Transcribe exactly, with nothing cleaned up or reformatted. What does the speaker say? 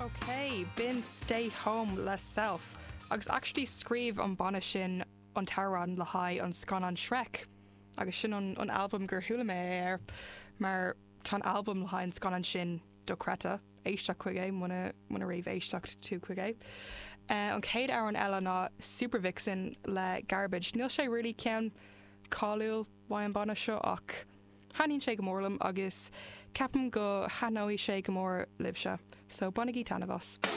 Ok, b'in Stay Home le Self, agus actually scríobh an banna sin an t-amhrán le haghaidh an scannán Shrek. agus sin an, an albam gur chuala mé air mar tá an albam le haghaidh an scannán sin dochreidte éisteacht chuige muna muna raibh éisteacht tú chuige. Uh, an chéad amhrán eile ná Supervixen le Garbage. Níl sé really ceann cáiliúil uaidh an banna seo ach thaitníonn sé go mór liom agus ceapaim go thaitneoidh sé go mór libhse, so bainigí taitneamh as.